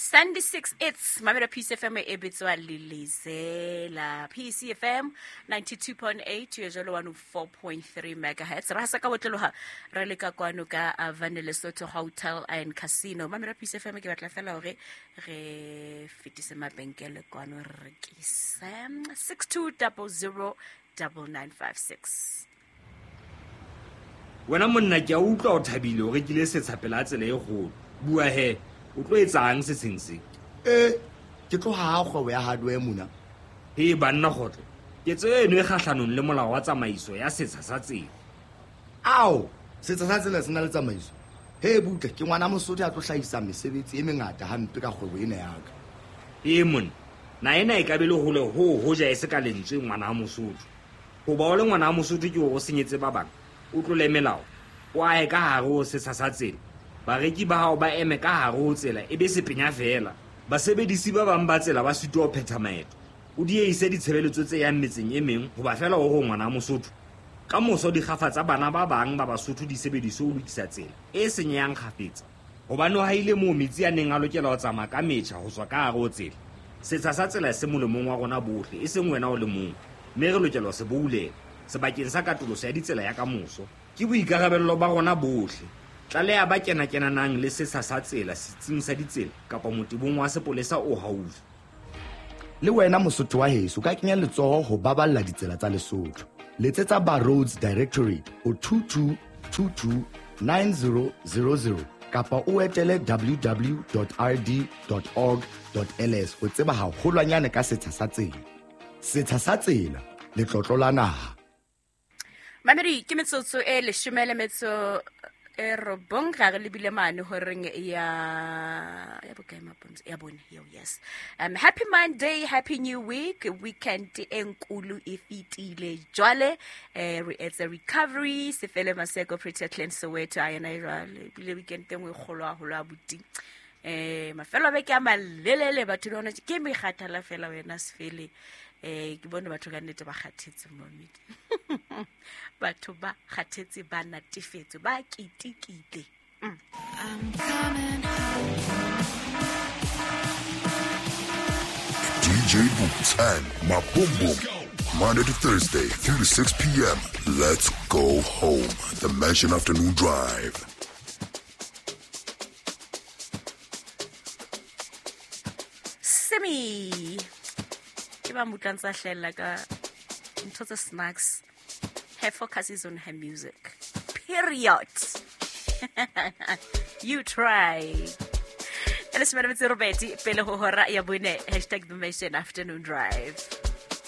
Sunday 6 it's mamela PCFM e bitswa Lilizela. PCFM 92.8 yo jalo 104.3 megahertz. Ra sa ka botlologa re le ka kwano ka Avane Lesotho Hotel and Casino. Mamela PCFM ke batla fela hore re fetise mabenkele kwano re rekise 6200 9956. Wena monna ke a utlwa o thabile o rekile setsha pela tsela e kgolo. Bua he, o tlo etsang setsheng se? E, ke tlo haha kgwebo ya hardware mona. He banna kgotlo, ketso eno e kgahlanong le molao wa tsamaiso ya setsha sa tsela. Ao, setsha sa tsela se na le tsamaiso. He butle, ke ngwana Mosotho ya tlo hlahisa mesebetsi e mengata hampe ka kgwebo ena ya ka. Ee monna, na ena e ka be le hole ho hoja e se ka lentswe ngwana Mosotho. Hoba o le ngwana Mosotho ke hore o senyetse ba bang, o tlole melao, o ahe ka hare ho setsha sa tsela. Bareki ba hao ba eme ka hare ho tsela e be sepenya feela. Basebedisi ba bang ba tsela ba sitwa ho phetha maeto. O diehise ditshebeletso tse yang metseng e meng hoba feela o re o ngwana Mosotho. Ka moso dikgafa tsa bana ba bang ba Basotho di sebediswe ho lokisa tsela e senyehang kgafetsa. Hobane o haile moo metsi a neng a lokela ho tsamaya ka metjha ho tswa ka hare ho tsela. Setsha sa tsela se molemong wa rona bohle, e seng wena o le mong, mme re lokela ho se boulela sebakeng sa katoloso ya ditsela ya kamoso. Ke boikarabello ba rona bohle. Tlaleha ba kena-kenanang le setsha sa tsela setsing sa ditsela kapa motebong wa sepolesa o haufi. Le wena Mosotho wa heso ka kenya letsoho ho baballa ditsela tsa Lesotho. Letsetsa ba Roads Directorate ho 22 22 9000 kapa o etele www.rd.org.ls ho tseba haholwanyane ka setsha sa tsela. Setsha sa tsela, letlotlo la naha. Mamedi ke metsotso e leshome le metso e robong ga re lebile mane horeng ya ya bokae mapontsho ya bone eo yes. Happy Monday, happy new week. Weekend e nkulu e fetile jwale, re etse recovery sefele maseko Pretty Clean Soweto a yena e jwale ebile weekend e nngwe e kgolo haholo abuti. Mafelo a beke a malelele batho le hona ke mekgathala fela wena sefele. Ke bone batho ka nnete ba kgathetse momedi. Batho ba kgathetse, ba natefetswe, ba ketekile. I'm coming home. DJ Boots and my Boom Boom. Monday to Thursday, 3 to 6 p.m. Let's go home. The Mansion Afternoon Drive. Simi. Ke ba mutlang tsa hlella ka ntho tsa snacks. Her focus is on her music. Period. You try. E leshome le metso e robedi pele ho hora ya bone. Hashtag The Mansion Afternoon Drive.